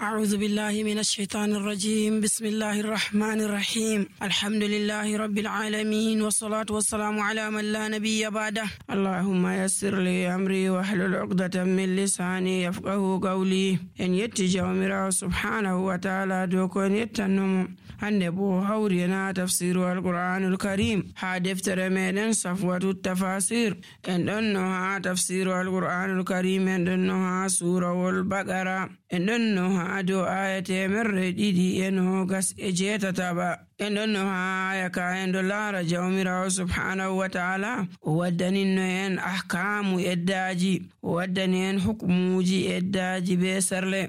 أعوذ بالله من الشيطان الرجيم. بسم الله الرحمن الرحيم. الحمد لله رب العالمين، والصلاة والسلام على من لا نبي بعده. اللهم يسر لي أمري واحلل عقدة من لساني يفقه قولي. إن يتجاو ميرا سبحانه وتعالى دوكون يتنم هنبو هورينا تفسير القرآن الكريم دفتر من صفوة التفاسير. إن دنها تفسير القرآن الكريم، إن دنها سورة البقرة، إن دنها ado ayate merre ɗiɗi e nogas e jeetataba. En ɗon no ha aya ka en ɗo laara jawmirawo subhanahu wa ta'ala o waddaninno en ahkamu eddaji, o waddani en hukmuji eddaji be serle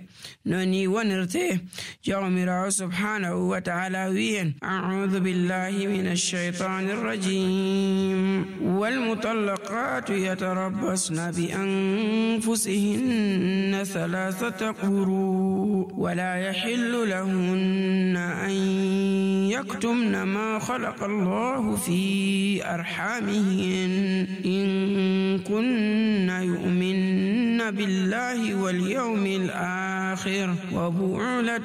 no ni wonirte. jawmirawo subhanahu wa ta'ala wi en a'udhu billahi minash shaitanir rajim. wal mutallaqatu yatarabbasna bi anfusihinna thalathata quru ولا يحل لهن أن يكتمن ما خلق الله في أرحامهن إن كن يؤمن بالله واليوم الآخر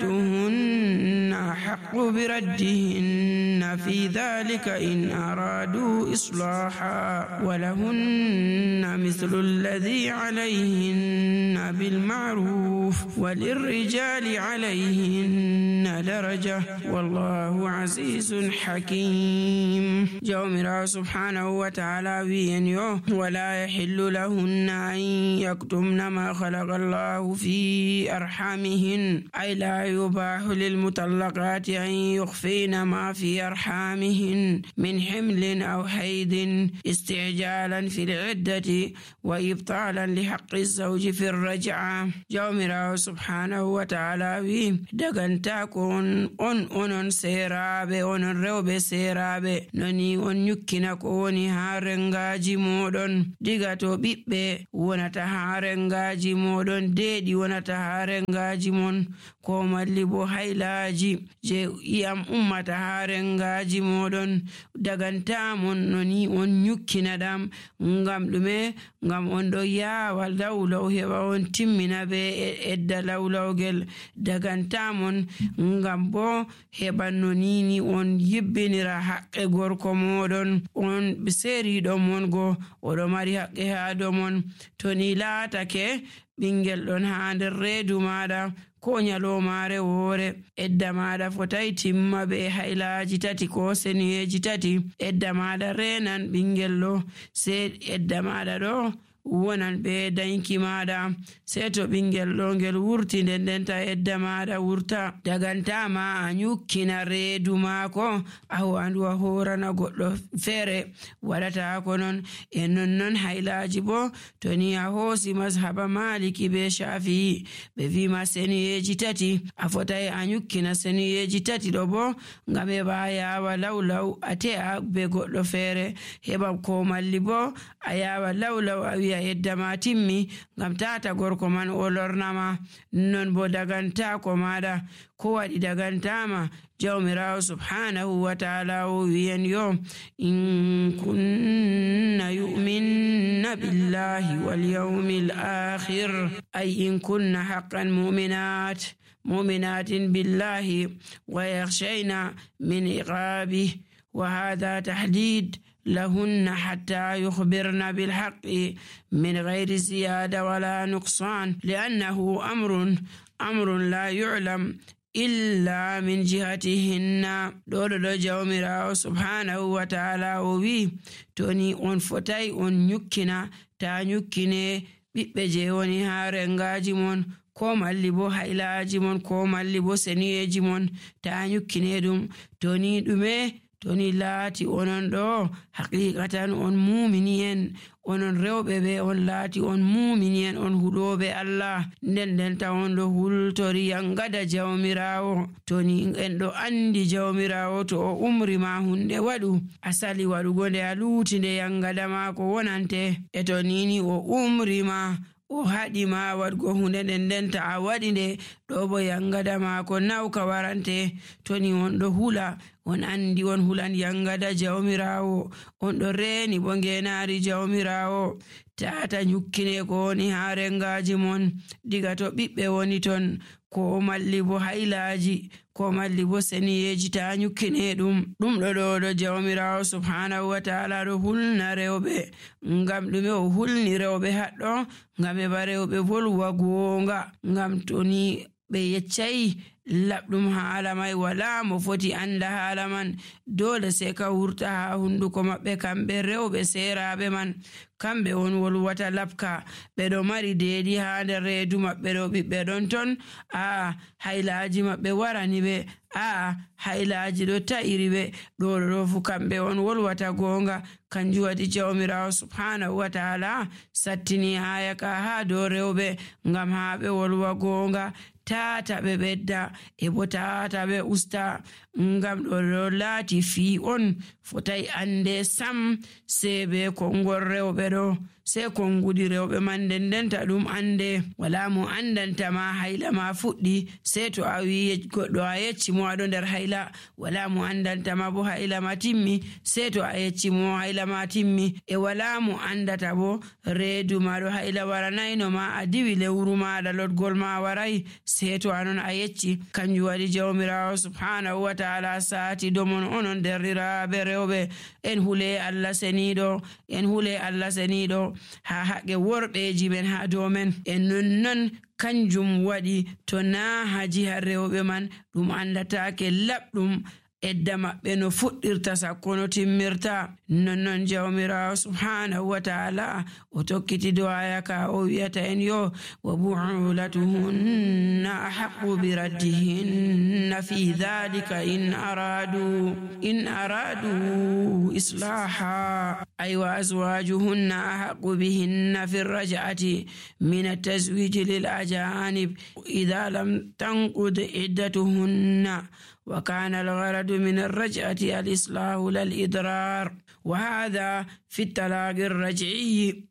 وبعولتهن أحق بردهن في ذلك إن أرادوا إصلاحا ولهن مثل الذي عليهن بالمعروف وللرجال عليهن درجة والله عزيز حكيم. جومرا سبحانه وتعالى وين ولا يحل لهن أن يكتمن ما خلق الله في أرحامهن، أي لا يباح للمطلقات أن يخفين ما في أرحامهن من حمل أو حيض استعجالا في العدة وإبطالا لحق الزوج في الرجعة. جومرا سبحانه وتعالى وي دغنتاكون onon seeraaɓe, onon rewɓe seeraaɓe, noni on nyukkina ko woni haa rengaji moɗon. diga to ɓiɓɓe wonata haa rengaji moɗon, deeɗi wonata haa rengaji mon, ko malli bo haylaaji je iyam ummata haa rengaji moɗon, dagantamon noni on nyukkina ɗam. ngam ɗume? ngam on ɗo yaawa lawlaw heɓa on timmina be edda lawlawgel. dagantamon ngam bo heɓa no nini on yibbinira haqqe gorko moɗon, on ɓe seeriɗo mon go oɗo mari haqqe haa dow mon. to ni laatake ɓingel ɗon haa nder reedu maɗa ko nyalomare woore, edda maɗa fotai timma be haylaaji tati ko seniyeji tati. edda maɗa renan ɓingel ɗo, se edda maɗa ɗo wonan be danki maɗa, sei to ɓingel ɗo ngel wurti ndendenta edda maɗa wurta. dagantama a nyukkina reedu maako a wandu a horana goɗɗo feere, waɗata ko non. e nonnon haylaaji bo to ni a hoosi mazhaba maliki be shafi'i ɓe wima seniyeji tati, a fotai a nyukkina seniyeji tati ɗo bo ngam heɓa yawa lawlaw a te'a be goɗɗo feere, heɓa ko malli bo a yawa lawlaw a wi'a edda ma timmi ngam tata gorko man o lornama. non bo dagantako maɗa ko waɗi dagantama. jawmirawo subhanahu wa ta'ala o wiyen yo in kunna yu'minna billahi wal yawmil akhir, ay in kunna haqqan mu'minatin billahi wa yakhshayna min iqabihi wa hadha tahdid لهن حتى يخبرن بالحق من غير زيادة ولا نقصان، لأنه أمر لا يعلم إلا من جهتهن. دولو جومراو سبحانه وتعالى وي توني on fotai on nyukkina ta nyukkine ɓiɓɓe je woni haa rengaji mon, ko malli bo haylaaji mon, ko malli bo seniyeji mon, ta nyukkine ɗum. toni ɗume? toni laati onon ɗo haqiqatan on mumini en, onon rewɓe ɓe on laati on mumini en, on huɗoɓe Allah, nden ta on ɗo hultori yangada jawmirawo. toni en ɗo andi jawmirawo to o umri ma hunde waɗu a sali waɗugo nde a luuti nde yangada ma ko wonante. e to nini o umri ma o haɗi ma waɗgo hunde ndenta a waɗi nde ɗo bo yangada ma ko nawka warante. toni on ɗo hula on andi on hulan yangada jawmirawo, on ɗo reeni bo ngenari jawmirawo. tata nyukkine ko woni ha rengaji mon diga to ɓiɓɓe woni ton, ko malli bo haylaji, ko malli bo seniyeji, ta nyukkine ɗum ɗo jawmirawo subhanahu wa ta'ala ɗo hulna rewɓe. Ngam ɗume o hulni rewɓe haɗɗo? Ngam heɓa rewɓe volwa gonga. Ngam to ni ɓe yeccayi laɓɗum haala mai, wala mo foti anda haala man, dole sai ka wurta ha hunduko maɓɓe. Kamɓe rewɓe seraɓe man, kamɓe on wolwata labka, ɓe ɗo mari deedi ha nder reedu maɓɓe ɗo, ɓiɓɓe ɗon ton, haylaji maɓɓe warani ɓe, haylaji ɗo ta'iri ɓe, ɗo fu kamɓe on wolwata gonga. Kanjum waɗi jawmirawo subhanahu wa ta'ala sattini aya ka ha dow rewɓe ngam ha ɓe wolwa gonga, tata ɓe ɓedda e bo tata ɓe usta. Ngam ɗo laati fi on fotai ande sam sai be kongol rewɓe ɗo, sai konguɗi rewɓe man dendenta ɗum ande. Wala mo andanta ma hayla ma fuɗɗi sai to a wi goɗɗo a yecci mo aɗo nder hayla. Wala mo andanta ma bo hayla ma timmi sai to a yecci mo hayla ma timmi. E wala mo andata bo reedu ma ɗo hayla waranayno ma, a diwi lewru maɗa lotgol ma waray sai to anon a yecci. Kanjum waɗi jawmirawo subhanahu wa ta'ala sati domon onon derɗiraɓe rewɓe, en hule Allah seniɗo, en hule Allah seniɗo ha haqqe worɓeji men ha dow men. En nonnon kanjum waɗi to na haji ha rewɓe man ɗum andatake laɓɗum edda maɓɓe no fuɗɗirta sakko no timmirta. Nonnon jawmirawo subhanahu wa ta'ala o tokkiti do aya ka o wiyata en yo wa bu'ulatuhunna ahaqqu bi raddihinna fi dhalika in aradu islaha ay wa azwajuhunna ahaqqu bihinna fi raj'ati min at-tazwij lil ajanib idha lam tanqud iddatuhunna وكان الغرض من الرجعة الإصلاح لا الإضرار، وهذا في الطلاق الرجعي.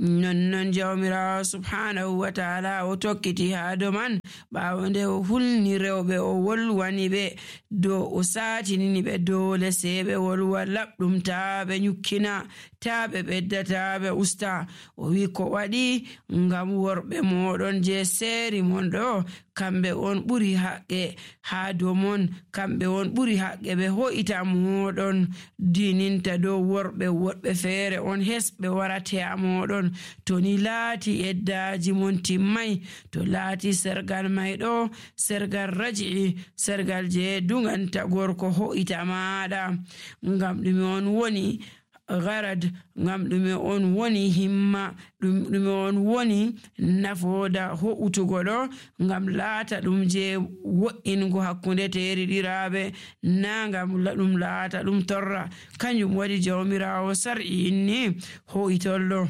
nonnon jawmirawo subhanahu wa ta'ala o tokkiti ha do man ɓawo nde o hulni rewɓe o wolwani ɓe do o satinini ɓe dole sai ɓe wolwa laɓɗum, ta ɓe nyukkina, ta ɓe ɓedda, ta ɓe usta. O wi ko waɗi ngam worɓe moɗon je seeri mon ɗo kamɓe on ɓuri haqqe ha dow mon, kamɓe on ɓuri haqqe ɓe ho'ita moɗon dininta dow worɓe. Woɗɓe feere on hesɓe warate a moɗon. To ni laati eddaji mon timmay, to laati sergal may ɗo sergal raji'i, sergal je dunganta gorko ho'ita maɗa. Ngam ɗume on woni garad, ngam ɗume on woni himma, ɗume on woni nafoda ho'utugo ɗo, ngam laata ɗum je wo'ingo hakkunde teriɗiraɓe, na ngam ɗum laata ɗum torra. Kanjum waɗi jawmirawo sar'i inni ho'itollo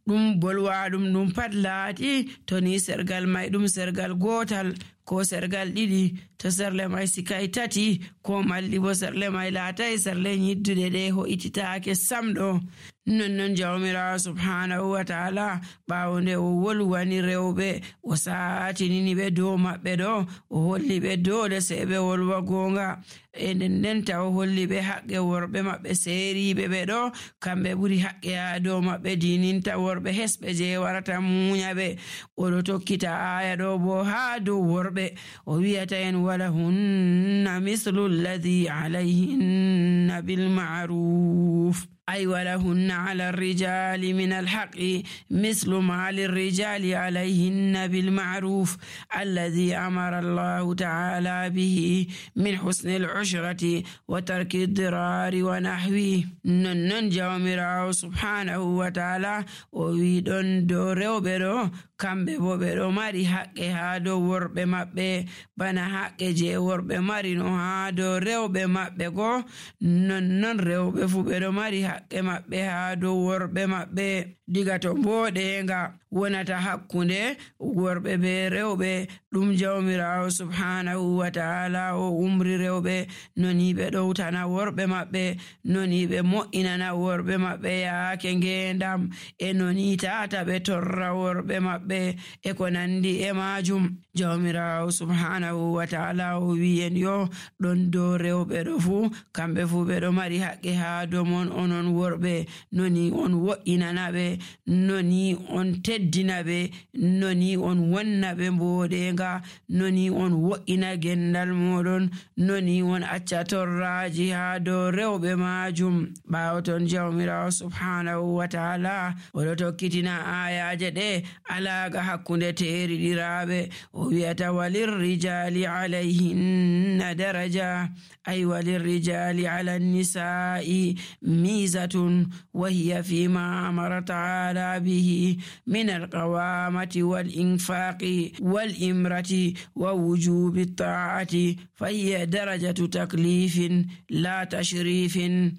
ɗum bolwa ɗum pat laati to ni sergal may ɗum sergal gotal ko sergal ɗiɗi, to serle may sikay tati ko malli bo serle may laatay serle nyiddude ɗe ho'ititaake sam ɗo. Nonnon jawmirawo subhanahu wa ta'ala ɓawo nde o wolwani rewɓe o satinini ɓe dow maɓɓe ɗo, o holli ɓe dole sai ɓe wolwa gonga. E ndenta o holli ɓe haqqe worɓe maɓɓe seeriɓe ɓe ɗo kamɓe ɓuri haqqe ha dow maɓɓe dininta worɓe hesɓe je warata munya ɓe. Oɗo tokkita aya ɗo bo ha dow worɓe o wiyata en walahunna mislu alladhi alayhinna bil ma'ruf أي ولهن على الرجال من الحق مثل ما للرجال عليهن بالمعروف الذي أمر الله تعالى به من حسن العشرة وترك الضرار ونحوه. ننن جawmirawo subhanahu wa ta'ala o wi ɗon dow rewɓe ɗo kamɓe bo ɓe ɗo mari haqqe ha dow worɓe maɓɓe bana haqqe je worɓe mari no ha dow rewɓe maɓɓe go, nonnon rewɓe fu ɓe ɗo mari haqqe maɓɓe ha dow worɓe maɓɓe. Diga to mboɗenga wonata hakkunde worɓe be rewɓe ɗum jawmirawo subhanahu wa ta'ala o umri rewɓe noni ɓe ɗowtana worɓe maɓɓe, noni ɓe mo'inana worɓe maɓɓe yaake ngendam, e noni tata ɓe torra worɓe maɓɓe e ko nandi e majum. Jawmirawo subhanahu wa ta'ala o wiyen yo ɗon dow rewɓe ɗo fu kamɓe fu ɓe ɗo mari haqqe ha dow mon onon worɓe, noni on wo'inana ɓe, noni on teddina ɓe, noni on wonna ɓe mboɗenga, noni on wo'ina gendal moɗon, noni on acca torraji ha dow rewɓe majum. ɓawo ton jawmirawo subhanahu wa ta'ala oɗo tokkitina ayaje ɗe alaga hakkunde teriɗiraɓe, o wi'ata walirrijali alayhinna daraja, ay walirrijali ala nisa'i mizatun wa hiya fima amara ta'ala bihi min alqawamati wal infaqi wal imrati wa wujubi ta'ati fa hiya darajatu taklifin la tashrifin,